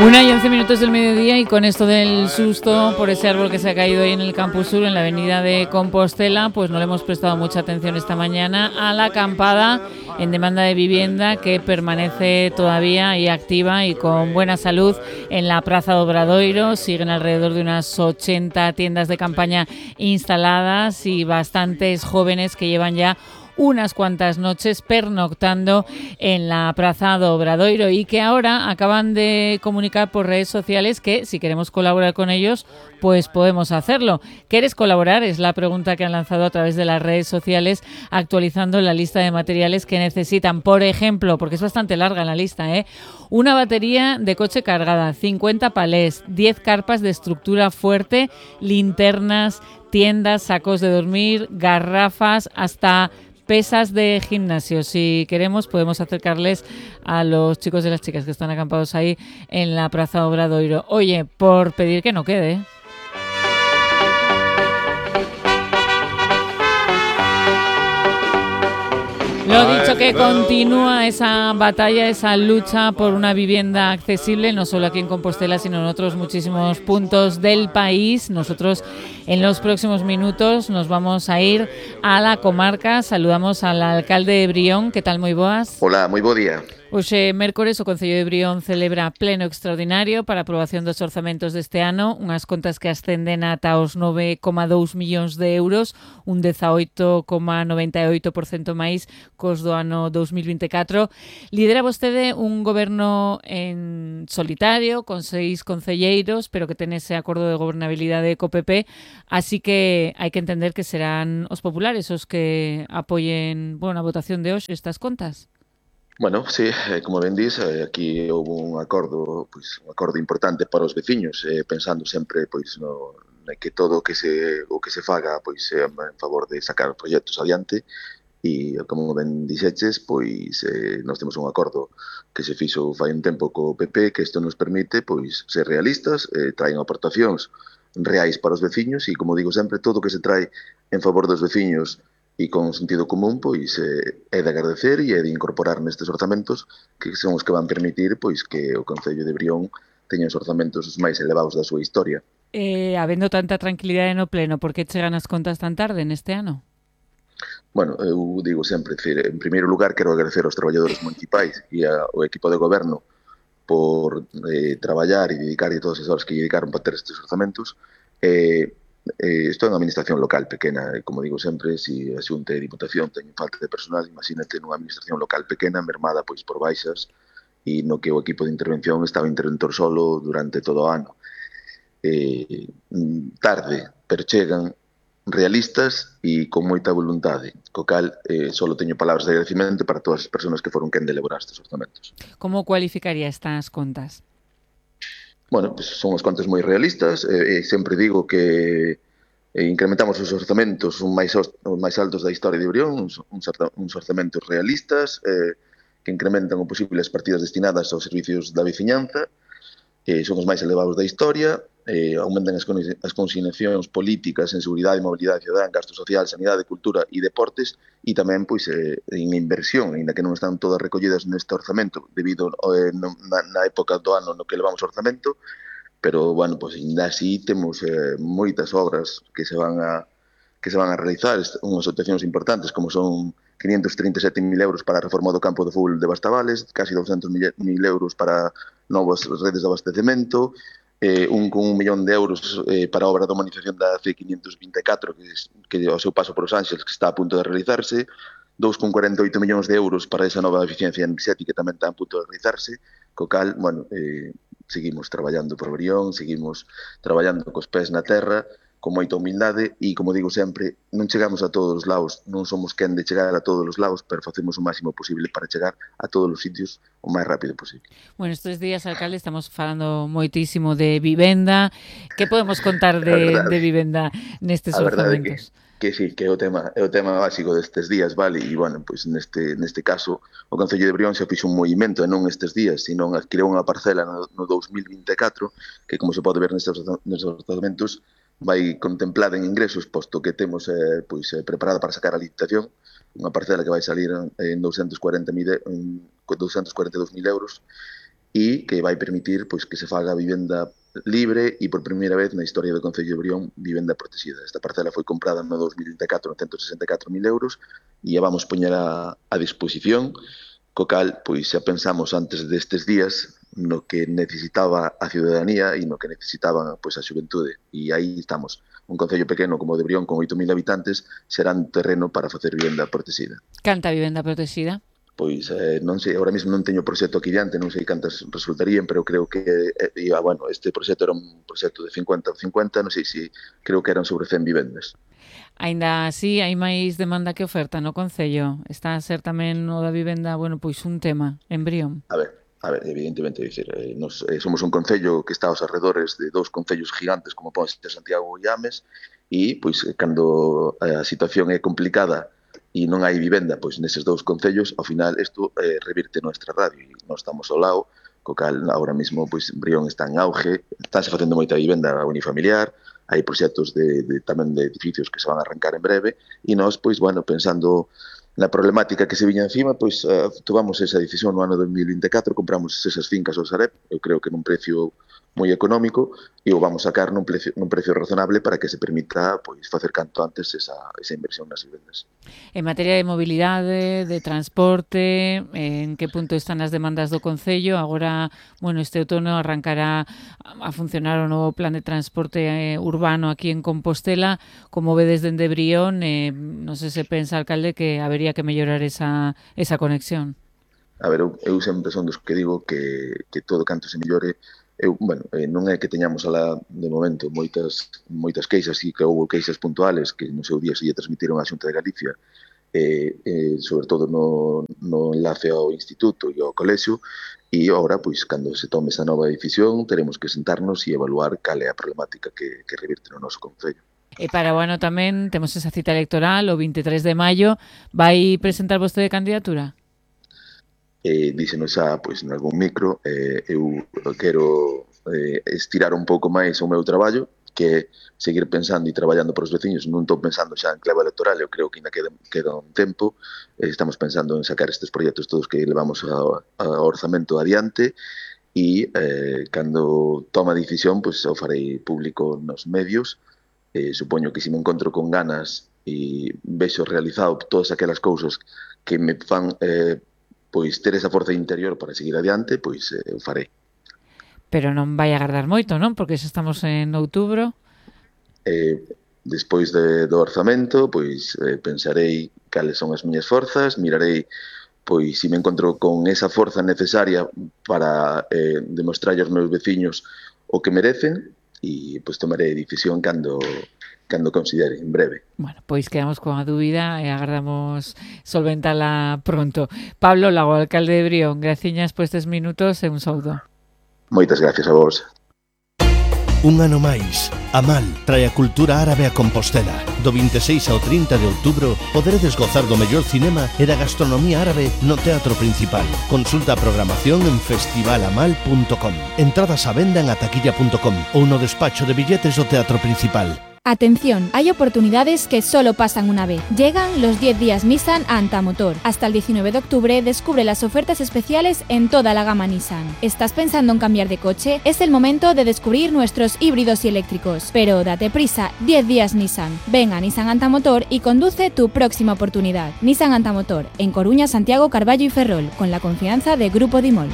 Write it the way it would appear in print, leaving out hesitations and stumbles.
1:11 del mediodía, y con esto del susto por ese árbol que se ha caído ahí en el Campus Sur, en la avenida de Compostela, pues no le hemos prestado mucha atención esta mañana a la acampada en demanda de vivienda que permanece todavía y activa y con buena salud en la Praza do Obradoiro. Siguen alrededor de unas 80 tiendas de campaña instaladas y bastantes jóvenes que llevan ya unas cuantas noches pernoctando en la Praza do Obradoiro y que ahora acaban de comunicar por redes sociales que si queremos colaborar con ellos, pues podemos hacerlo. ¿Quieres colaborar? Es la pregunta que han lanzado a través de las redes sociales, actualizando la lista de materiales que necesitan. Por ejemplo, porque es bastante larga la lista, una batería de coche cargada, 50 palés, 10 carpas de estructura fuerte, linternas, tiendas, sacos de dormir, garrafas, hasta pesas de gimnasio. Si queremos, podemos acercarles a los chicos y las chicas que están acampados ahí en la Praza Obradoiro. Oye, por pedir que no quede. Lo dicho, que continúa esa batalla, esa lucha por una vivienda accesible, no solo aquí en Compostela, sino en otros muchísimos puntos del país. Nosotros en los próximos minutos nos vamos a ir a la comarca. Saludamos al alcalde de Brión. ¿Qué tal? Moi boas. Hola, moi bo día. Hoxe, mércores, o Concello de Brión celebra pleno extraordinario para a aprobación dos orzamentos deste ano, unhas contas que ascenden ata os 9,2 millóns de euros, un 18,98% máis cos do ano 2024. Lidera vostede un goberno en solitario, con 6 concelleiros, pero que ten ese acordo de gobernabilidade co PP, así que hai que entender que serán os populares os que apoien, a votación de hoxe estas contas. Bueno, sí, como ben dís, aquí houve un acordo importante para os veciños, pensando sempre no que todo o que se faga en favor de sacar proxectos adiante, e como ben dixeches, nós temos un acordo que se fixo fai un tempo co PP, que isto nos permite ser realistas, traen aportacións reais para os veciños e, como digo sempre, todo o que se trae en favor dos veciños e con sentido común, é de agradecer e é de incorporar nestes orzamentos, que son os que van permitir que o Concello de Brión teña os orzamentos máis elevados da súa historia. Habendo tanta tranquilidade no pleno, por que chegan as contas tan tarde neste ano? Bueno, eu digo sempre, en primeiro lugar, quero agradecer aos traballadores municipais e ao equipo de goberno por traballar e dedicar todas as horas que dedicaron para ter estes orzamentos. Isto é unha administración local pequena, e como digo sempre, se a Xunta e a Diputación teñen falta de personal, imagínate nunha administración local pequena, mermada por baixas, e no que o equipo de intervención estaba interventor solo durante todo o ano. Tarde, pero chegan, realistas e con moita voluntade, co cal só teño palabras de agradecimento para todas as persoas que foron quen de elaborar estes orzamentos. Como cualificaría estas contas? Bueno, son as contas moi realistas, sempre digo que incrementamos os orzamentos os máis altos da historia de Brión, uns orzamentos realistas, que incrementan o posibles partidas destinadas aos servicios da veciñanza, son os máis elevados da historia, aumentan as consignacións políticas en seguridade e mobilidade cidadá, en gasto social, sanidade, cultura e deportes, e tamén en inversión, ainda que non están todas recollidas neste orzamento debido na época do ano no que levamos orzamento, pero, ainda así temos moitas obras que se van a realizar, unhas actuacións importantes como son 537.000 euros para a reforma do campo de fútbol de Bastavales, casi 200.000 euros para novas redes de abastecemento, con 1 millón de euros para a obra de humanización da C524, que ao seu paso por Os Ángeles, que está a punto de realizarse, 2,48 millóns de euros para esa nova eficiencia enerxética que tamén está a punto de realizarse, co cal, seguimos traballando por Brión, seguimos traballando cos pés na terra, con moita humildade e, como digo sempre, non chegamos a todos os lados, non somos quen de chegar a todos os lados, pero facemos o máximo posible para chegar a todos os sitios o máis rápido posible. Bueno, estes días, alcalde, estamos falando moitísimo de vivenda. Que podemos contar de vivenda nestes orzamentos? Que sí, que é o tema básico destes días, vale? E, neste caso, o Concello de Brión xa fixo un movimento, e non estes días, sino adquiriu unha parcela no 2024, que, como se pode ver nestes orzamentos, vai contemplada en ingresos, posto que temos preparada para sacar a licitación, unha parcela que vai salir en 242.000 euros, e que vai permitir pois que se faga vivenda libre e por primeira vez na historia do Concello de Brión vivenda protegida. Esta parcela foi comprada no 2024 en 164.000 euros e a vamos poñer a disposición, co cal, pois xa pensamos antes destes días no que necesitaba a ciudadanía e no que necesitaba pois a xuventude. E aí estamos. Un concello pequeno como o de Brión con 8.000 habitantes será un terreno para facer vivenda protegida. Canta vivenda protegida? Pois non sei, ahora mesmo non teño proxecto aquí diante, non sei cantas resultarían, pero creo que bueno, este proxecto era un proxecto de 50-50, non sei se creo que eran sobre 100 vivendas. Aínda así, hai máis demanda que oferta no Concello. Está a ser tamén o da vivenda, bueno, pois un tema en Brión. A ver, evidentemente, dicir, nos somos un concello que está aos arredores de dous concellos gigantes como Ponce, Santiago e Ames, e pois cando a situación é complicada e non hai vivenda pois neses dous concellos, ao final isto revirte nuestra radio e nós estamos ao lado, co cal agora mesmo pois Brión está en auge, estánse facendo moita vivenda unifamiliar, hai proxectos tamén de edificios que se van a arrancar en breve e nós pois bueno, pensando na problemática que se viña encima, pois tomamos esa decisión no ano 2024, compramos esas fincas ao Sareb, eu creo que nun precio moi económico e o vamos sacar nun precio razonable para que se permita pois facer canto antes esa inversión nas vivendas. En materia de mobilidade, de transporte, en que punto están as demandas do Concello? Agora, bueno, este outono arrancará a funcionar o novo plan de transporte urbano aquí en Compostela. Como vedes dende Brión, non sei se pensa, alcalde, que habería que mellorar esa conexión. A ver, eu sempre son dos que digo que todo canto se mellore. Non é que teñamos alá de momento moitas queixas e que houve queixas puntuales que no seu día se lle transmitiron á Xunta de Galicia, sobre todo no enlace ao instituto e ao colexio, e agora, pois, cando se tome esa nova decisión, teremos que sentarnos e evaluar cal é a problemática que revirte no noso concello. E para o ano tamén temos esa cita electoral, o 23 de maio. Vai presentar vostede candidatura? Díxenos xa, pois, en algún micro, eu quero estirar un pouco máis o meu traballo, que é seguir pensando e traballando para os veciños. Non estou pensando xa en clave electoral, eu creo que ainda queda un tempo. Estamos pensando en sacar estes proxectos todos que levamos ao orzamento adiante e cando toma a decisión, pois o farei público nos medios. Supoño que se me encontro con ganas e vexo realizado todas aquelas cousas que me fan pois ter esa forza interior para seguir adiante, pois eu farei. Pero non vai agardar moito, non? Porque xa estamos en outubro. Despois do orzamento, pois pensarei cales son as miñas forzas, mirarei pois se me encontro con esa forza necesaria para demostrar aos meus veciños o que merecen e pois tomarei decisión cando considere, en breve. Bueno, pois quedamos con a dúbida e agardamos solventala pronto. Pablo Lago, alcalde de Brión, graciñas por estes minutos e un saúdo. Moitas gracias a vos. Un ano máis, Amal trae a cultura árabe a Compostela. Do 26 ao 30 de outubro poderedes gozar do mellor cinema e da gastronomía árabe no Teatro Principal. Consulta a programación en festivalamal.com. Entradas á venda en ataquilla.com ou no despacho de billetes do Teatro Principal. Atención, hay oportunidades que solo pasan una vez. Llegan los 10 días Nissan a Antamotor. Hasta el 19 de octubre descubre las ofertas especiales en toda la gama Nissan. ¿Estás pensando en cambiar de coche? Es el momento de descubrir nuestros híbridos y eléctricos. Pero date prisa, 10 días Nissan. Ven a Nissan Antamotor y conduce tu próxima oportunidad. Nissan Antamotor, en Coruña, Santiago, Carballo y Ferrol, con la confianza de Grupo Dimol.